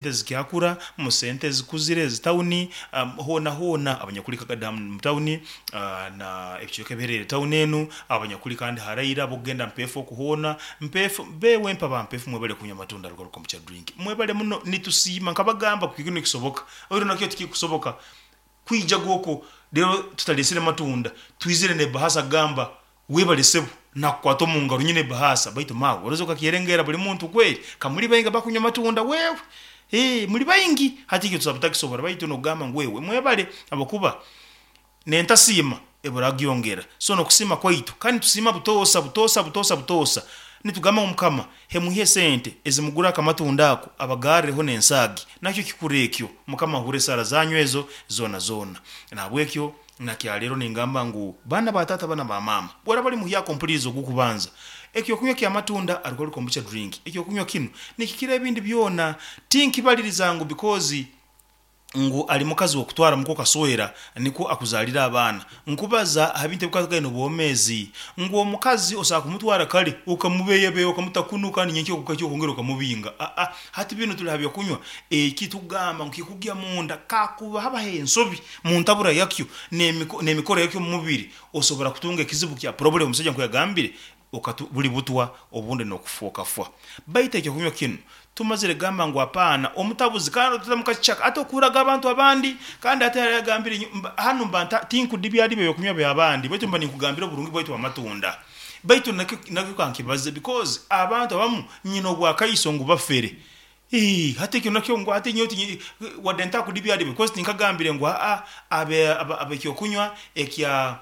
Ezikyakura mu sente ezikuzire ezi tawuni hoona hoona abanyakuri Kagada mu tawuni na ebicweka ebihereriire tawuni enu, abanyakuri kandi haraire abokugenda Mpeefu oku hoona, Mpeefu, bewempe aba Mpeefu mwebale kunywa amatunda Rugaruka Kombucha Drink. Mwebale muno nitusiima nkabagamba kiki nikisoboka oihireho nakyo tikikusoboka kwija okwo reero tutareesire matunda twizire n'ebahasa kugamba Webale sebo, nakukwata omu ngaro nyine ebahaasa baitu maawe oroze okakyerengera buri muntu kweri ka muri baingi abakunywa amatunda wewe ee muri baingi hati ekyo tusa butakisobora baitu nokugamba ngu wewe mwebale habwokuba nentasiima ebura agyongera so nokusiima kwaitu kandi nitusiima butoosa butoosa butoosa butoosa nitugamba ngu mukama hemuhe esente ezimugura akamatunda ako abagarreho nensaagi nakyo kikuru ekyo mukama ahure esaara zanyu ezo zoona zoona nahabwekyo Na kyaleero ningamba ngu, baana ba taata bana ba maama, bworaba ori muhyaka ompulirize ogw'okubanza, ekyokunywa ky'amatunda alcoholic kombucha drink, ekyokunywa kinu nikikira ebindi byona. Tinkibaliriza ngu because ngu ali mukazi w'okutwara muka okaswera nikwo akuzaalire abaana. Nkubaza aha bintu ebikwatagaine n'obwomeezi. Ngu omukazi osobola kumutwara kare okamubeeyabeeya okamuta kunu kandi nyenkya obukakya okongera okamubinga. Aa hati binu tuli ha by'okunywa eki tugamba ngu kikugya munda kakuba habaho ensobi Mu ntabura yakyo n'emikoro yakyo omu mubiri, osobora kutunga ekizibu kya problem omusaija nkoku yagambire, okatu buli butwa obundi n'okufa okafwa. Baitu ekyokunywa kinu tumazire kugamba ngu apaana, omutabuzi kandi otatamu kakicaka ate okuhurraga abantu abandi kandi ate hariho ayagambire nyowe mba hanu mba nta tinkudibyadibya ebyokunywa by'abandi baitu mba ninkugambira oburungi bwaitu bw'amatunda. Baitu nakyo nakyo kankibaze because abantu abamu nyine obwakaiso ngu bafere. Ii, Hati ekyo nakyo ngu hati nyowe tinyi wadde ntakudibyadibya because tinkagambire ngu aa abe ab'ekyokunywa ekya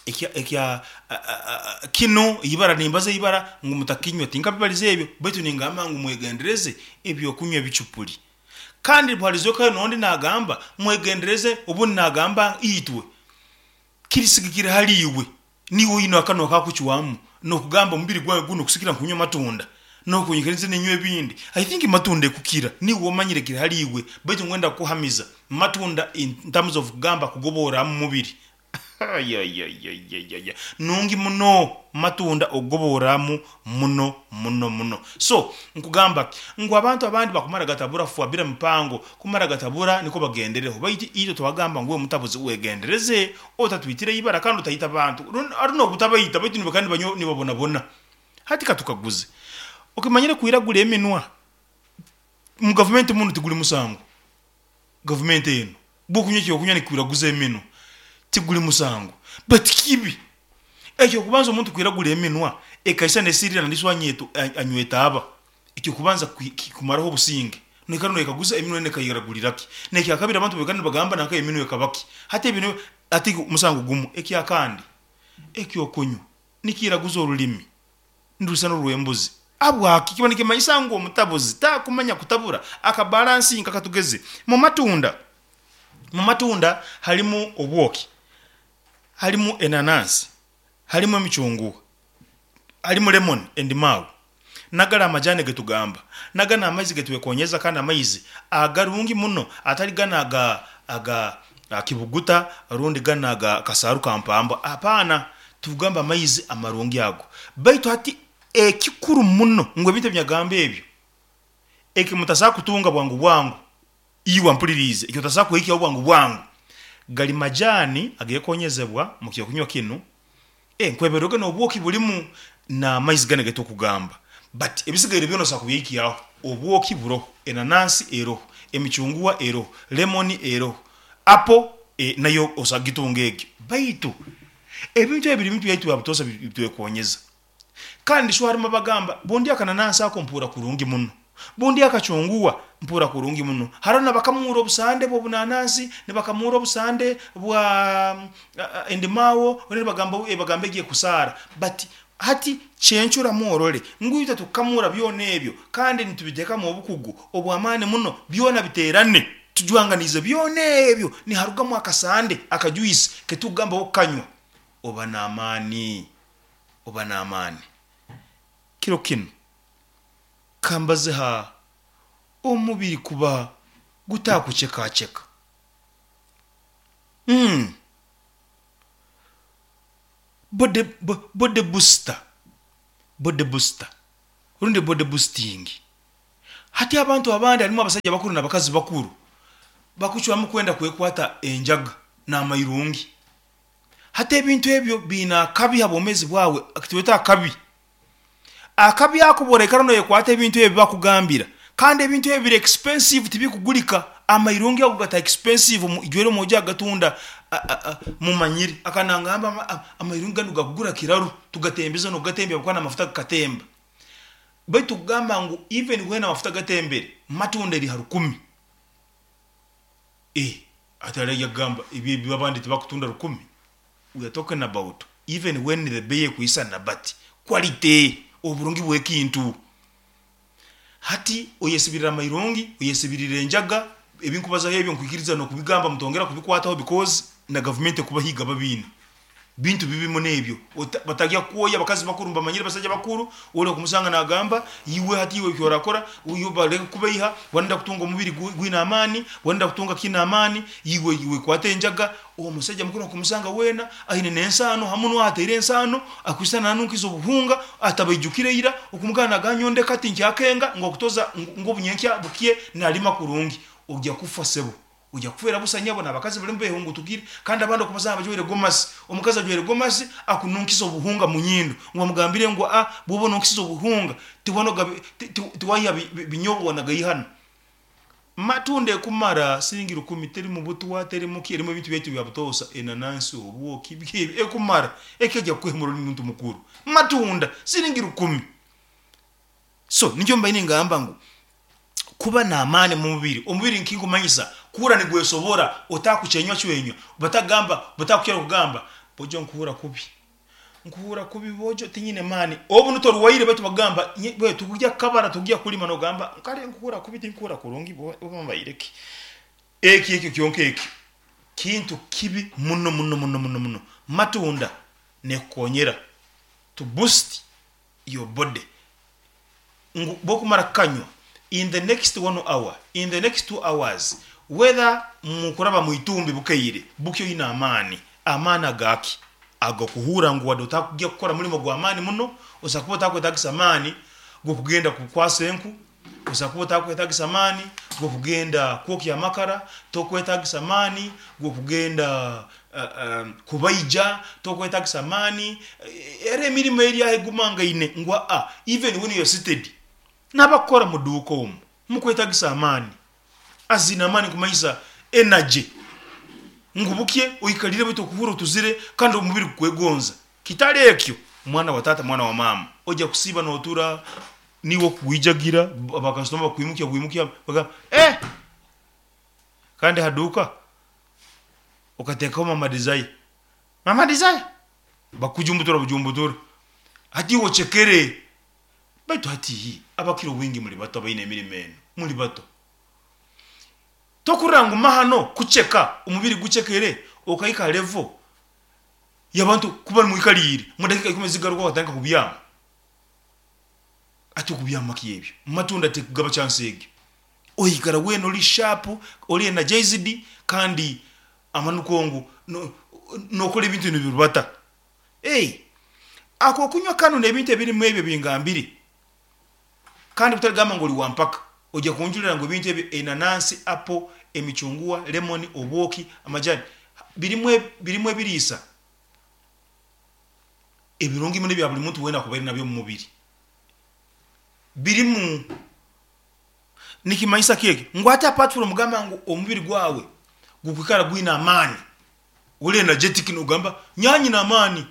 ekya ekya kinu ibara nimbaza ibara ngu mutakinywa tinkabibaliza ebyo baitu ningamba ngu mwegendereze ebyokunywa ebicupuli. Kandi bwalizokayo n'ondi nagamba mwegendereze obundi nagamba itwe kirisigikira hali iwe. Niiwe oine akanwa akakucwamu nokugamba omubiri gwange gunu kusikira nkunywa amatunda nokunyikiriza ninywa ebindi. I think matunda ekukira niiwe omanyire kiri hali iwe baitu ngwenda kukuhamiza matunda in terms of kugamba kugoboora mumubiri ayayayayaya nungi muno matunda okugobooraamu muno muno muno. So nkugamba ki ngu abantu abandi bakumara gatabura fwa bira mipango kumara gatabura nikwo bagendereho baitu itwe twagamba ngu iwe mutabuzi wegendereze Otatwitira eibara kandi otaita bantu, rundi n'obutabaita baitu nibakaba nibanywa nibabonabona. Hati katukaguze, okimanyire kwiragura eminwa mu gavumenti munu tiguli musango? Gavumenti enu bwokunywa ekyokunywa nikikwiraguza eminwa tiguli musango but kibi. Ekyokubanza omuntu kwiragura eminwa ekaisa nesirira nandiswa anywa etaaba. Eky'okubanza kumaraho obusinge, noikara noyekaguza eminwa enu ekairagulira ki? N'ekyakabiri abantu baikara nibagamba nanka eminwa ekaba ki? Hati ebyo nibyo hati musango gumu. Ekyakandi, eky'okunywa nikiiraguza orulimi nirusana orw'embuzi. Habwaki? Kiba nikimanyisa ngu omutabuzi takumanya kutabura akabalansinga katugeze mu matunda. Mu matunda halimu obwoki, halimu enanansi, halimu emicunguwa, halimu lemoni, endimaawu. Nagari amajani getugamba, nagano amaizi getwekonyeza kandi amaizi agarungi muno atari ganu aga aga kibuguta rundi ganu aga kasaaru ka mpamba apana, tugamba amaizi amarungi ago. Baitu hati ekikuru muno ngu ebintu ebinyagamba ebyo eki mutasobora kutunga bwangu bwangu, iwe ampuliriize, eki otasobora kuhikyaho bwangu bwangu gali majani agekonyezebwa mu kyokunywa kinu. Nkweberwege n'obwoki bulimu n'amaizi ganu agetukugamba but ebisigaire byona osobola kubyehikyaho. Obwoki buroho, enanansi eroho, emicunguwa eroho, lemoni eroho, apo nayo osobola kugitunga egyo. Baitu ebintu ebi biri bintu byaitu bya butoosa bitwekonyeza. Kandi sho harimu abagamba bundya akananansi ako mpuura kurungi muno. Bundi akacunguwa mpuura kurungi muno. Haroho nabakamuura obusande bw'obunanansi, nibakamuura obusande bwa endimaawo, obundi nibagamba bagamba egi ekusaara. But hati kyencuramu orole ngu itwe tukukamuura byona ebyo kandi nitubiteekamu obukugu obw'amaani muno byona biteerane, tujwanganiize byona ebyo niharugamu akasande, akajuice ketukugamba okukanywa oba n'amaani, oba n'amaani. Kiro kinu. Kambaze ha omubiri kuba gutakucekaceka. Umm body body booster, body booster rundi body boosting. Hati abantu abandi harimu abasaija bakuru n'abakazi bakuru bakucwamu kwenda kwekwata enjaga n'amairungi. Hati ebintu ebyo biine akabi ha bwomeezi bwawe, twete akabi. Akabi ako obu oraikara noyekwata ebintu ebi bakugambira, kandi ebintu ebi biri expensive tibikugurika, amairungi ago gata expensive ijweri omwojo agatunda mumanyire, akaba nangamba amairungi ganu gakugura kiraru, tugatembeza nokugatembya habwokuba namafuta gakatemba. Baitu kugamba ngu even when amafuta gatembere, matunda eri ha rukumi. Eh, hati hariho aija kugamba ebi ebi abandi tibakutunda rukumi? We are talking about even when the beyi ekwisana but quality, oburungi bw'ekintu. Hati oyesibirira amairungi, oyesibirira enjaga, ebi nkubazaho ebyo nkwikiriza n'okubigamba mutongera kubikwataho because na gavumenti ekubahiga babiine. Bintu bibi muno ebyo. Batagya kukwoya abakazi bakuru nibamanyire basaija bakuru, ori okumusanga nagamba, iwe hati iwe eki orakora, iwe baleke kukubeiha, wenda kutunga omubiri gwine amaani, wenda kutunga kiine amaani, iwe iwe kwata enjaga, omusaija mukuru okumusanga weena aine n'ensaano ha munwa ataire ensaano, akwisana nanunkiza obuhunga, atabaijukire ira, okumugamba nagamba nyowe ndeka tinkyakenga ngu okutoza ngu obunyenkya bukye nalima kurungi. Ogya kufa sebo. Oija kufeera busa nyabo n'abakazi barimu behungutukire kandi abandi okubasanga bajwaire gomasi. Omukazi ajwaire gomasi akununkisa obuhunga mu nyindo ngu bamugambire ngu a bwoba onunkisize obuhunga tiwanoga tiwaiha binyobwa wanagaihana. Matunda ekumara siringi rukumi terimu butwa terimu ki erimu ebintu byaitu ebya butoosa enanansi obwoki biki ebi ekumara ekaija kukuhemura ori muntu mukuru. Matunda siringi rukumi. So nikyo mbaire ningamba ngu kuba n'amaani omu mubiri. Omubiri nkinkumanyisa kuhurra nigwesobora otakucwenywa-cwenywa, batagamba batakukira kugamba bojo nkuhurra kubi, nkuhurra kubi bojo tinyine maani. Obu nu torwaire baitu bakugamba we tukugya kukabara tukugya kulima nogamba kare nkuhurra kubi tinkuhurra kurungi oba mbaire ki. Eki ekyo kyonka eki kintu kibi muno muno muno muno muno. Matunda nekukonyera to boost your body ngu bwokumara kukanywa in the next one hour, in the next 2 hours whether mukuraba mwitumbi bukeire bukye oyine amaani. Amaani agaki? Agokuhuura ngu wadde otakugya kukora mulimo gwamaani muno, osobola kuba otakwetagisa amaani gokugenda kukwasa enku, osobola kuba otakwetagisa amaani gokugenda kwokya amakara, tokwetagisa amaani gokugenda kubaija, tokwetagisa amaani, era emirimo eri aho egumangaine ngu aa even when you're seated, nabakukora muduuka omu, mukwetagisa amaani, as in amaani nikumanyisa energy, ngu bukye oikarire baitu okuhurra otuzire kandi omubiri gukwegonza. Kitari ekyo, mwana wa taata, mwana wa maama, oija kusiiba notura, niiwe okugwijagira, bakasitoma bakwimukya bwimukya bagamba eh! Kandi ha duuka okateekaho Mama Desire, Mama Desire! Bakujumbutura bujumbutura. Hati iwe ocekere. Baitu hati abakira obwingi muli bato abaine emirimo enu, muli bato. Tokurora ngu mahano kuceka, omubiri gucekere okahika ha level y'abantu kuba nimwikaliire, mu dakiika ikumi ezigarukaho okatandika kubyama. Hati okubyama ki ebyo? Matunda tekugaba chance egyo. Oikara weena ori sharp, ori energized kandi amananu ngu nokora ebintu nibirubata. Hey, akokunywa kanu n'ebintu ebirimu ebyo ebingambire, kandi butarigamba ngu ori wa mpaka, oija kunjurira ngu ebintu ebyo enanansi, apple, emicunguwa, lemon, obwoki, amajani, birimu birimu ebiriisa ebirungi muno ebya buri muntu weena akubaire nabyo omu mubiri. Birimu. Nikimanyisa ki ekyo? Ngu hati apart from kugamba ngu omubiri gwawe gukwikara gwine amaani, ori energetic nogamba nyowe nyine amaani,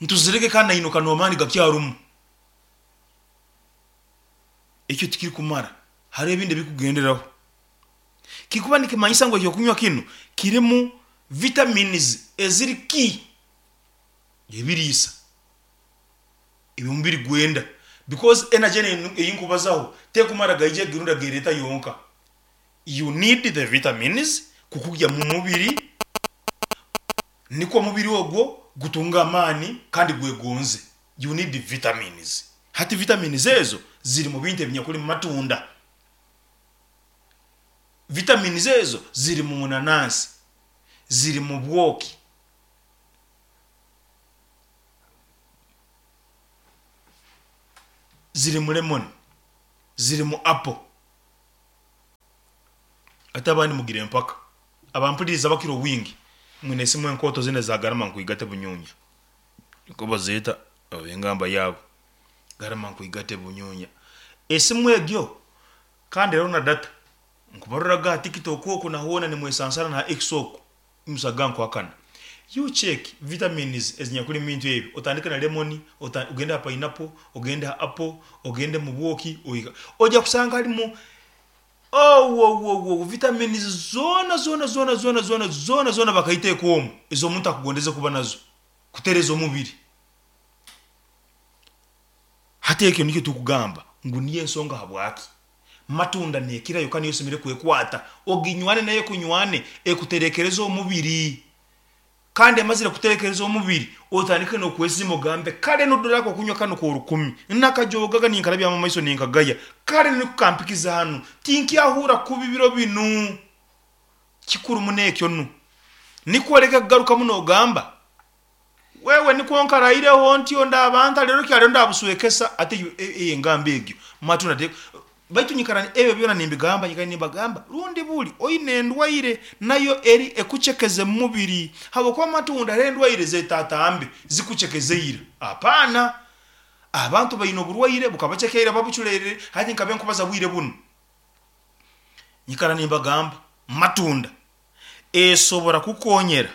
ntuzirege kandi nainuka n'amaani gakyarumu. Ekyo tikirikumara, hariho ebindi ebirikugenderaho. Kikuba nikimanyisa ngu ekyokunywa kinu kirimu vitamins eziri key, ebiriisa. ebi omubiri gwenda because energy enu ei nkubazaho tekumara gaija egirunda gereeta yonka. You need the vitamins kukugya mu mubiri nikwo omubiri ogwo gutunge amaani kandi gwegonze. You need vitamins. Hati vitamins ezo ziri mu bintu ebinyakuli mu matunda. Vitamins ezo ziri mu munanansi, ziri mu bwoki. Ziri mu lemon. ziri mu apple. Hati abandi mugire empaka. Abampuririza abakira obwingi mwine esimu enkooto zinu eza garama nkwigate bunyunya. Nikwo bazeeta oba engamba yaabo. Garama nkwigate bunyunya. Esimu egyo kandi eriho na data. Nkubaroraga aha TikTok oku na hoona nimwesansana na ha X oku. Musaga nkuhakana. You check vitamins ezinyakuli mu bintu ebi, otandike na lemon, ogende ha pineapple, ogende ha apple, ogende mu bwoki, oiga. Oija kusanga harimu Owowowowo vitamins zoona zoona zoona zoona zoona zoona zoona bakaiteeka omu ez'omuntu akugondeze kuba nazo kutereza omubiri. Hati ekyo nikyo tukugamba ngu niyo ensonga habwaki matunda nekirayo kandi niyo osemeriire kwekwata oginywane nayo ekunywane ekuterekereze omubiri. Kandi emazire kuterekereza omubiri, otandike n'okwesiima ogambe, Kare nodora ak'okunywa kanu k'orukumi, nakajoogaga ninkarabyamu amaiso ninkagaya, kare niko kampikize hanu, tinkyahurra kubi biro binu. Kikuru muno ekyo nu. Nikwo oleke kugarukamu nogamba, Wewe nikwo nkaraireho ntyo ndaba nta rero kyarero ndabuswekesa, ati eyo engamba egyo matunda te. Baitu nyikara ebyo byona nimbigamba, nyikara nimbagamba, rundi buli oine endwaire nayo eri ekucekeze mu mubiri, habwokuba amatunda hariho endwaire zetatambe zikucekeze ira. Apana! Abantu baine oburwaire bukabaceka ira babuculerire, hati nkabe nkubaza bwire bunu. Nyikara nimbagamba, matunda esobora kukonyera,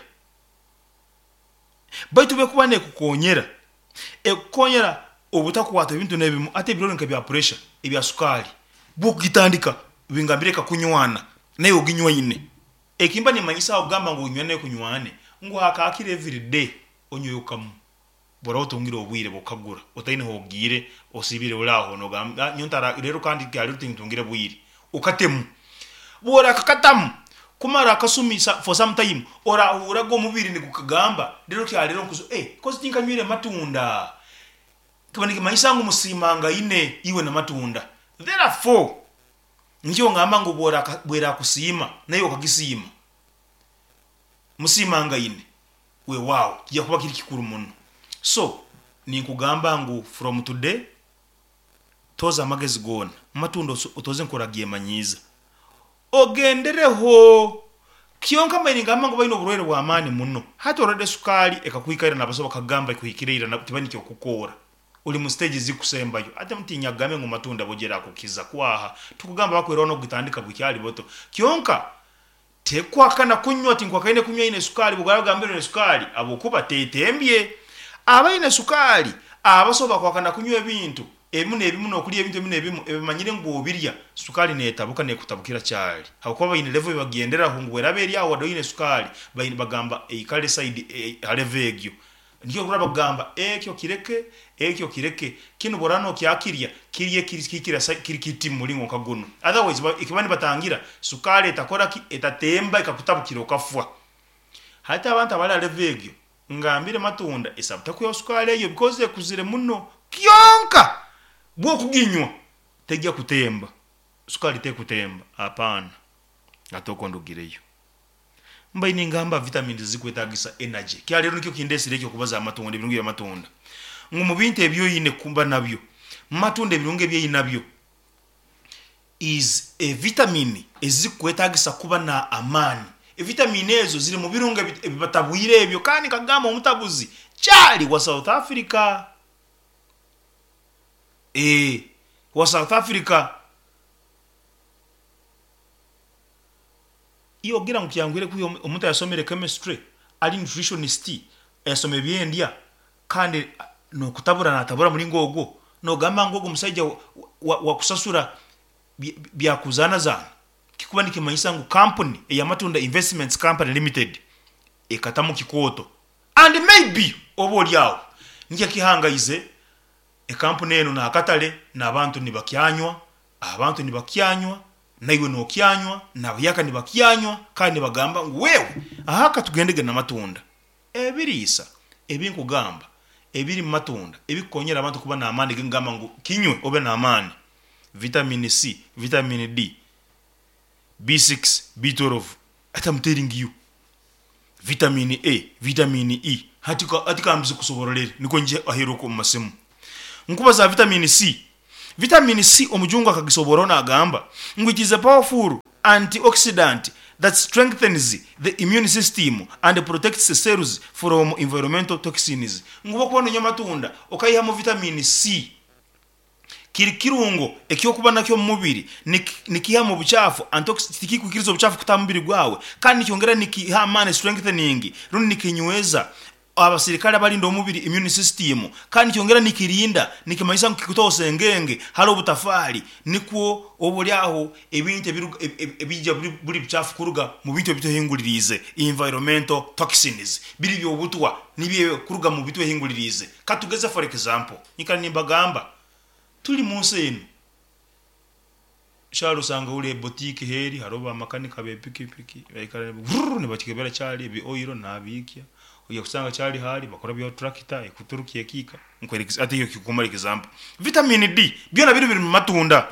baitu obu ekuba nekukonyera, Ekukonyera obutakwatwa ebintu n'ebimu hati ebirwaire nka ebya puresha, ebya sukaali, bw'okugitandika bingambire ekakunywana naiwe oginywaine. Eki mba nimmanyisa aho kugamba ngu oginywane ekunywane ngu hakakira everyday onyweyo kamu. Bw'oraba otungire obwire bw'okukagura otaine h'ogiire osiibire ori aho nogamba nyowe ntara reero kandi kyarero tintungire bwire, okatemu. Bw'orakakatamu kumara akasumi for some time, orahurraga omubiri nigukugamba reero kyarero nkuzo eh kozi tinkanywire matunda. Kiba nikimanyisa ngu musiimangaine iwe na matunda. Therefore, nikyo ngamba ngu bwerakusiima naiwe okagisiima, musiimangaine, weewaawo kija kuba kiri kikuru muno. So, ninkugamba ngu from today, Tooza amagezi goona, amatunda otooze nk'oragyemanyiiza. Ogendereho! Kyonka mbaire ningamba ngu baine oburwaire bw'amaani muno. Hati orwade sukaali ekakuhika ira n'abasaho bakakugamba ekuhikire ira tibaine ky'okukoora. Ori mu siteegi ezikusembayo. Hati tinyakugambe ngu matunda bojo erakukiza kwaha. Tukugamba bakweraho n'okugitandika bukyali buto. Kyonka Tekuhakana kunywa, tinkuhakaine kunywa aine sukaali, bw'oba ogambire oine sukaali, habwokuba tetembye. Abaine sukaali abaso bakuhakana kunywa ebintu ebimu n'ebimu n'okulya ebintu ebimu n'ebimu ebimanyire ngu bw'obirya sukaali n'etabuka n'ekutabukira kyali habwokuba baine level eyibagenderaho ngu bw'eraba eri aho wadde oine sukaali baine bagamba eikale side ha level egyo. Nikyo orikuhurra bakugamba ekyo kireke, ekyo kireke, kinu bw'oraaba nokyakirya, kirye kihikire kiri kiti mu muringo nka gunu. Otherwise eki baba nibatangira sukaali etakora ki, etatemba ekakutabukira okafwa. Hati abantu abari aha level egyo, ngambire matunda esabu tekwihaho sukaali egyo because ekuzire muno. Kyonka bw'okuginywa tegya kutemba, sukaali tekutemba, hapana. Hati okwo ndugireyo. Mbaire ningamba vitamins ezikwetagisa energy. Kya rero nikyo kindesire ekyo kubaza aha matunda, ebirungi bya matunda. Ngu mu bintu ebi oine kuba nabyo, matunda ebirungi ebi ainabyo is e vitamin ezikukwetagisa kuba na amaani. E vitamin ezo ziri mu birungo ebi batabwire ebyo kandi nkagamba omutabuzi kyali wa South Africa. Eeh wa South Africa. Iwe ogira ngu kyanguhire kwiha omuntu ayasomire chemistry ari nutritionist ayasoma eby'endya kandi n'okutabura natabura muringo ogwo, nogamba ngu ogu omusaija wakusasura byakuzaanazaana? Kikuba nikimanyisa ngu kampuni eya Matunda Investments Company Limited ekatamu kikooto and maybe oba ori aho nikyo ekihangaize ekampuni enu n'akatare n'abantu nibakyanywa, abantu nibakyanywa. Naiwe nokyanywa, n'abahyaka nibakyanywa, kandi nibagamba ngu, Wewe, aha katugendege n'amatunda. Ebiriisa ebi nkugamba ebiri mu matunda ebikukonyera abantu kuba n'amaani ge nkugamba ngu kinywe obe n'amaani, vitamini C, vitamini D, B6, B12, hati am telling you, vitamini A, vitamini E, hati hati kambize kusoborolere nikwo ngye aheeru okwo omu masimu. Nkubaza ha vitamini C. Vitamin C omujungu akagisoboraho nagamba ngu it is a powerful antioxidant that strengthens the immune system and protects cells from environmental toxins. Ngu obu okuba nonywa amatunda okaihamu vitamin C kiri kirungo eky'okuba nakyo omu mubiri, nikiihamu obucaafu, antioxidants, tikikwikiriza obucaafu kutaaha omu mubiri gwawe kandi nikyongera nikiha amaani, strengthening, rundi nikinyweza abasirikare abarinda omubiri, immune system, kandi nikyongera nikirinda, nikimanyisa ngu kikutaho sengenge hali obutafaali nikwo oba ori aho ebintu ebiija buri bucaafu kuruga mu bintu ebitwehinguririize, environmental toxins, biri by'obutwa nibyo kuruga mu bitwehinguririize. Katugeze for example, nyikara nimbagamba turi munsi enu, Kyari osanga ori eboutique heri hariho ba makanika be pikipiki baikara vurr nibakikebera kyari ebi oil nabiikya oija kusanga kyari hari bakora bya tractor ekuturukya ekiika hati ekyo kumara example. Vitamin D byona biri biri mumatunda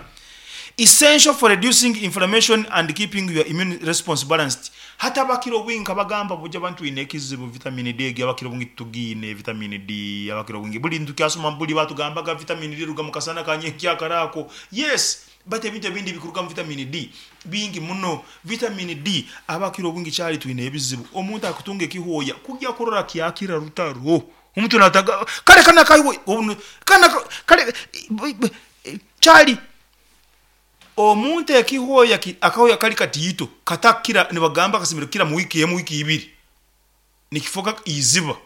essential for reducing inflammation and keeping your immune response balanced. Hati abakira obwingi nkabagamba buja abantu twine ekizibu vitamin D egi abakira obwingi titugiine vitamin D abakira obwingi buri nitukyasoma buri batugambaga vitamin D eruga mukasana kanyenkyakara ako yes Baitu ebintu ebindi ebikurugamu vitamini D bingi muno. Vitamini D abakira obwingi kyali twine ebizibu. Omuntu akutunga ekihooya kugya kurora kyakira rutaro. Omuntu nataga kale kanu akahooya kanu kale kyali omuntu ekihooya akahooya kali katiito katakira nibagamba kasemeriire kukira mu wiiki emu wiiki ibiri. Nikifoka eiziba.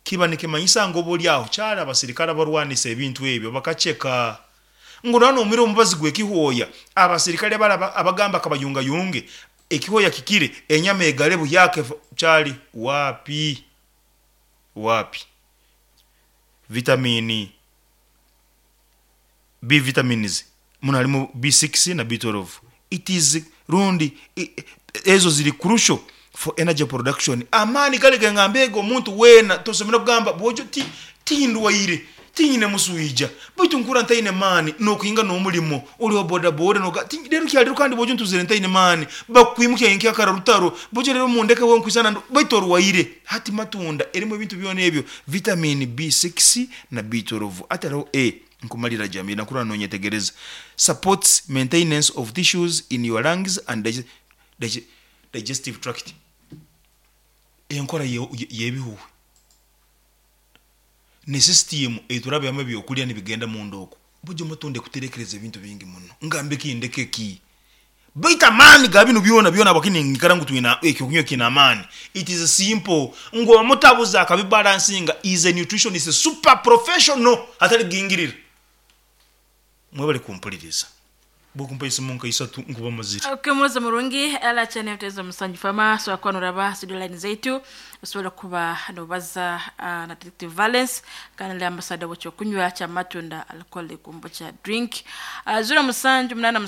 Kiba nikimanyisa ngu obolyaho kyali abasirikare abarwanisa ebintu ebyo bakaceka. Ngu noba nomira omubazi gw'ekihooya, abasirikare bare abagamba kabayungayunge, ekihooya kikire, enyama egare buhyaka efa, kyali waapi? Waapi? Vitamini B vitamins muno harimu B6 na B12. It is rundi ezo ziri crucial for energy production. Amaani gari gengamba ego omuntu weena tosemeriire kugamba bwojo ti tindwaire tinyine muswija baitu nkuhurra ntaine maani nokuhinga nomurimo ori wa boda boda noga ti rero kyarero kandi bwojo ntuzire ntaine maani bakukwimukya nyenkyakara rutaro bwojo rero mundeke we nkwisana ndu baitu orwaire hati matunda erimu ebintu byona ebyo vitamin B6 na B12 hati hariho A Nkumalira Jamila nkurora nonyetegereza supports maintenance of tissues in your lungs and digestive tract Enkora y'ebihuhwe ni system eiturabyamu ebyokurya nibigenda munda oku. Bugye omutunde kuterekereza ebintu bingi muno. Ngambe ki ndeke ki? Baitu amaani ga binu byona byona habwaki ninyikara ngu twine ekyokunywa ekiine amaani? It is simple ngu omutabuzi akabibalansinga is a nutritionist super professional atari kugingirira. Mwebale kumpuliriza. Bwokumpa esimu nka isatu nkuba mazire. Okay, murozi murungi ala channel tezo musanju fama so akuba noraba studio line zaitu osobola kuba nobaza uh, na detective Valence kandi ali ambassador w'ekyokunywa kya matunda alcoholic kombucha drink uh, 07 87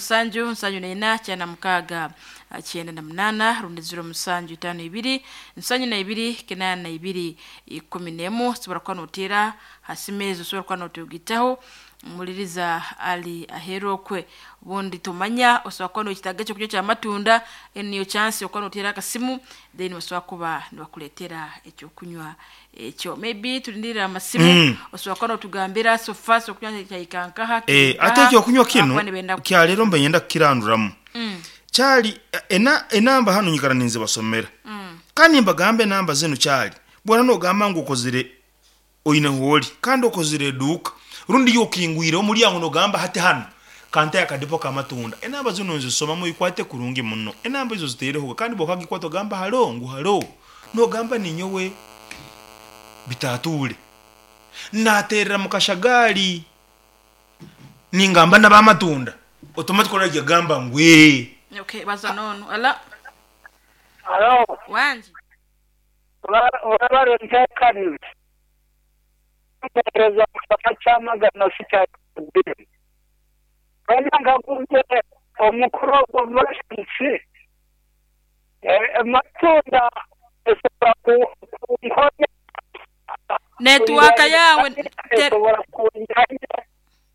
74 96 98 rundi 07 52 72 82 11 osobola kuba noteera ha simu ezo osobola kuba notugitaho Muliriza ali aheeru okwe. Obundi tomanya osobola kuba noyetaaga ekyokurya ky'amatunda, enu niyo chance okuba noteera akasimu then basobola kuba nibakuleetera ekyokunywa ekyo. Maybe tulindirire amasimu, osobola kuba notugambira so far ekyokunywa kyahika nkaha, kiri Eh, ate nkaha, ekyokunywa abakuba kinu nibenda kyaleero mbe nyenda kukiranduramu. Kyali ena enamba hanu nyikara ninzibasomera. Kandi nimbagamba enamba zinu kyali bwona nogamba ngu okozire Oine hooli kandi okozire eduuka rundi iwe okingwireho omulyango nogamba hati hanu kanteho akadipo k'amatunda. Enamba zinu nzisoma muikwate kurungi muno. Enamba ezo zitairehoga kandi bwokagikwata ogamba halo ngu halo nogamba ninyowe Bitaatuule. Naterera mukashagaali ningamba nab'amatunda automatically oraija gamba ngu ee. Okay, baza n'onu. Halo? Halo. Wangi. Webale nteekaniza. Mpeereza mu kyama Kyamagana City Bill. Wena nkaguze omukuru ogwo Valence, Matunda esobola kunkonya Netiwaaka yaawe te- esobola kunjanja.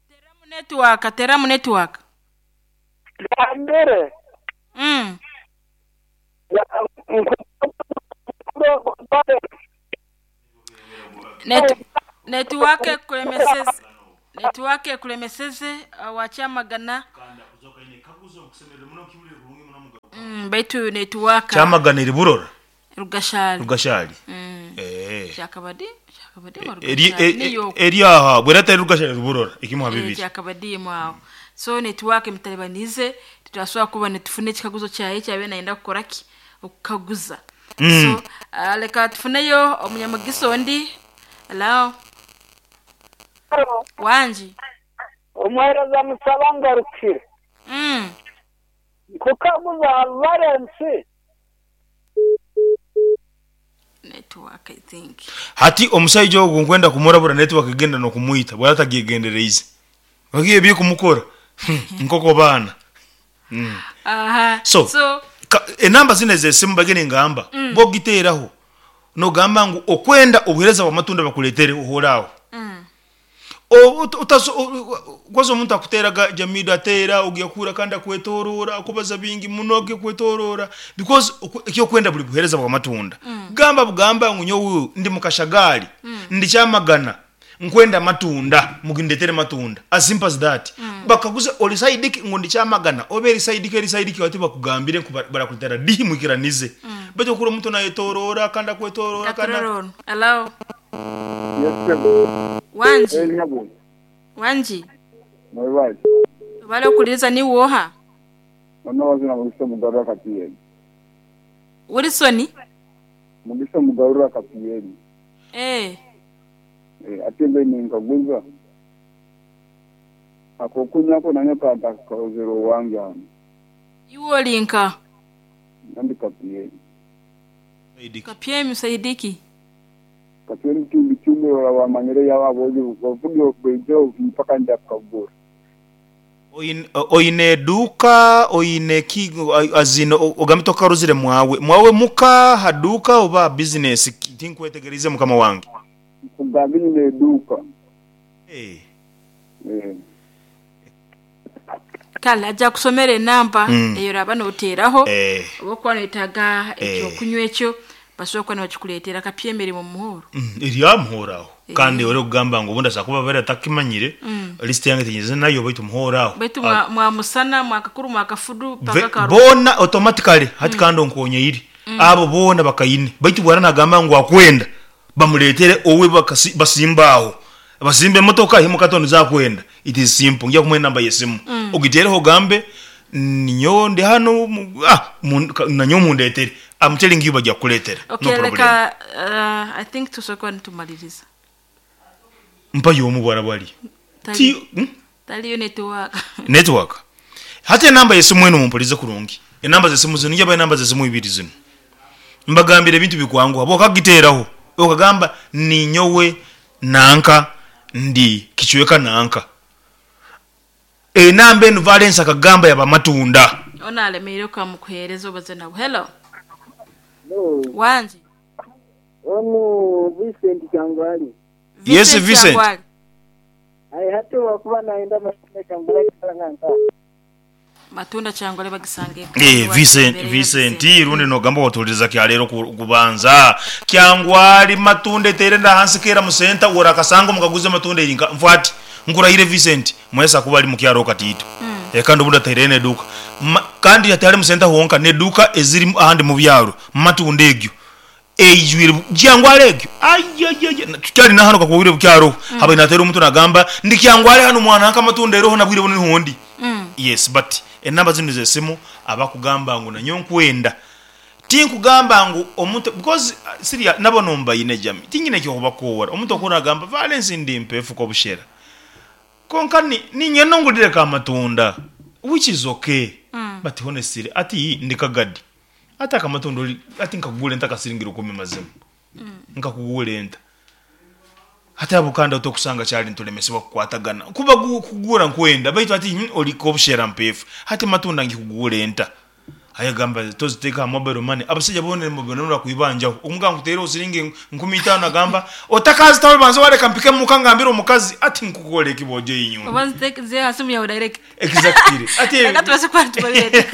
Teramu netiwaaka, teramu netiwaaka. Gambire. Netiwaaka ekulemeseze. Netiwaaka ekulemeseze wakyamagana. Baitu netiwaaka. Kyamagana eri Burora? Rugashari. Rugashari. Eh. Kyakabadi, kyakabadi oba Eri Rugashari niyo okwo. eri aha bwera atari Rugashari eri Burora ekimu ha Eh, bibiri. kyakabadiimu aho. So netiwaaka emitalibaniize titwasobora kuba nitufuna ekikaguzo kyaye ekyabaire nayenda kukora ki? Okukaguza. So leka tufuneyo omunyamugisa ondi. Hello. Wangi. Omuheereza musaba ngarukire. Nkukaguza Valens. Network I think. Hati omusaija ogu nkwenda kumurabura network egenda nokumwita bwaba atagyegendereize. Bagiye ebikumukora nkoko baana. Aha. So, So ka, enamba zino ez'esimu mbagire ningamba mm. bwogiteeraho nogamba ngu okwenda obuheereza bw'amatunda bakuleetere ohore aho. Kwaza omuntu akuteeraga Jamido ateera ogiya kuhura kandi akwetoroora akubaza bingi muno agiya kwetoroora because ekyokwenda buri buheereza bw'amatunda. Gamba bugamba ngu nyowe ndi mukashagaari ndi Kyamagana nkwenda amatunda mugindetere matunda as simple as that. Bakaguza ori side ki ngu ndi Kyamagana oba eri side ki eri side ki bati bakugambire ngu barakuletera dihi mwikiranize. Baitu okuhurira omuntu nayetoroora kandi akwetoroora kandi Katurore onu. Hello. Yes sebo. Wangi. Eh nyabo. Wangi. Mwebale. Webale okuhuririza niiwe oha? Ono wazina Mugisa Mugarura Kapiyeni. Wilson? Mugisa Mugarura Kapiyeni. Eh. Eh, ate mbe ninkaguza akokunywa ko nanye kantakozere owange hanu. Iwe ori nka? Nandi Kapiyeni. Kapyemi Saidiki. Kapyemi Tumbi Tumbi ora wamanyire yaba abojo bavuge baijo mpaka ndakagura. Oine eduuka oine ki as in ogambe tokarozire mwawe mwawe muka ha duuka oba bizinesi tinkwetegeriize mukama wange. Nkugambye nyine eduuka. Eh. Eh. Kale aja kusomera enamba eyo oraba noteeraho Eh. oba okuba noyetaaga Eh. ekyokunywa ekyo basobora kuba nibakikureetera kapyemi eri mu muhoro. Eri aha muhoro aho kandi ori kugamba ngu obundi asobola kuba abaire atakimanyire list yange tinyeze nayo baitu muhoro aho. Baitu mwa, mwa musana mwakakuru mwakafudu paka karu. Boona automatically hati kandi onkonyeire abo boona bakaine baitu bwara nagamba ngu akwenda bamuretere owe basimba aho basimbe emotoka ahimuka ati niza akwenda it is simple nja kumuha enamba yesimu ogitereho ogambe ninyowe ndi hanu nanyowe mundetere I'm telling you bagya kukuretera no Okay, problem. leka I think tusobola kuba nitumaliriza. Mpayo omu bwara bwari. Tali, Ti, taliyo network. Network. Hati enamba yesimu enu mumpurize kurungi. Enamba zesimu zinu njabaha enamba zesimu ibiri zinu. Mbagambire ebintu bikwanguha bwokagiteraho okagamba ninyowe nanka ndi kicweka nanka. Enamba enu Valens akagamba yaba matunda. Ono alemeire okamukuhereza obaze nabo. Hello. Hello. Wangi. Onu Vincent Kyangwali. Yes, Vincent. Kyangwali. Aye hati wakuba naenda matunda Kyangwali kalanga nka. Matunda Kyangwali bagisange. Eh, Vincent, Vincent, rundi nogamba watuliza kyalero kubanza. Kyangwali matunda etere nda hansi kera musenta ora kasango mukaguze matunda erinka. Mfwati nkurahire Vincent, mwesa kuba ali mukyaro katito. Kandi obundi ataire neduka. Kandi atari musenta honka neduka eziri ahandi mu byaro matunda egyo. Eijwire Kyangwali egyo. Ayayaya tukyali na hano kakuwire bukyaro. Haba natera omuntu nagamba ndi Kyangwali hano mwana nka matunda eroho nabwire buno nihondi. Yes, but enamba zinu z'esimu abakugamba ngu nanyo nkwenda. Tinkugamba ngu omuntu because siria nabo nombayine jami. Tinyine ekyokubakoora. Omuntu okura agamba Valens ndi mpefu ko bushera. Konka ninye nongulire ka matunda which is okay. But honestly ati ndi kagadi. Ati akamatunda oli ati nkakugula enta kasiringira 10 mazima. Nkakugula enta. Hati abo kandi otokusanga kyali ntulemesebwa kukwatagana. Kuba kugura nkwenda baitu ati oli ko bushera mpefu. Hati matunda ngikugula enta. Ayagamba toziteka mobile money. Abasajja bone mobile money bakuibanjaho. Omuganga kuteera osiringe 50 agamba otakazi tawe banza waleka mpike mukangambira omukazi ati nkukole ekibojo inyuma. Obanza take ze hasimu ya direct. Exactly. Ati Leka tubase kuba tubalire.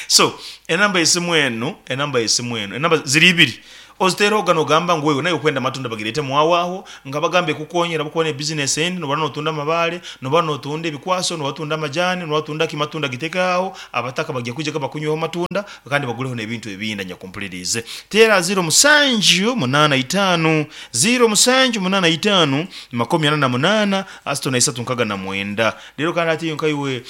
So enamba yesimu eno, enamba yesimu eno, enamba ziri ibiri. Oziteerehoga nogamba ngu wewe naiwe okwenda amatunda bagireete mwawe aho, nkabagambe kukonyera ahabw'okuba n'ebizinesi endi noba notunda amabaare, noba notunda ebikwaso, noba otunda amajaani, noba otunda ki amatunda giteeke aho, abataka bagya kwijaga bakunyweho amatunda kandi bagureho n'ebintu ebindi anyakumpuliriize. Teera ziiro musanju munaana itaanu, ziiro musanju munaana itaanu, 48, 36 69. Reero kandi hati nkaiwe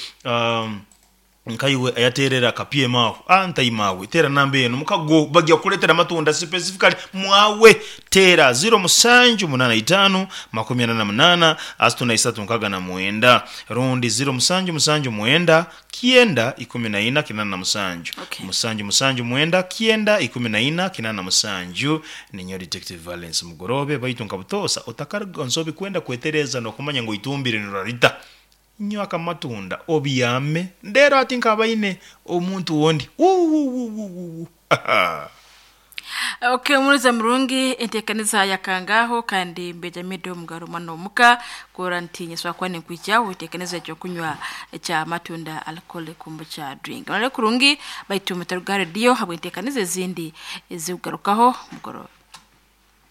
nkaiwe ayateerera ka PM aho, ah ntaima awe, teera namba eno mukago bagya kukuleetera amatunda specifically mwawe. Teera ziiro musanju munaana itaanu, 48, 3669 rundi ziiro musanju musanju mwenda, kyenda, 14, 87. Okay. Musanju musanju mwenda, kyenda, 14, 87. Ninyowe Detective Valence Mugoroobe, baitu nka butoosa otakaruga nsobi kwenda kwetereeza n'okumanya ngu eitumbire nirarita. Nywa akamatunda obyame ndeero hati nkabaine omuntu ondi. Wuuwuuwuuwuu. Okay, omuruza murungi enteekaniza yakangaho kandi mbejamidde omugaro mwana omuka kora nti nyeswa kuba ninkwijaho enteekaniza ekyokunywa ekya matunda alcohol kombucha drink. Murare kurungi baitu mutaruga ha rediyo habw'enteekaniza ezindi ezikugarukaho mugorobe.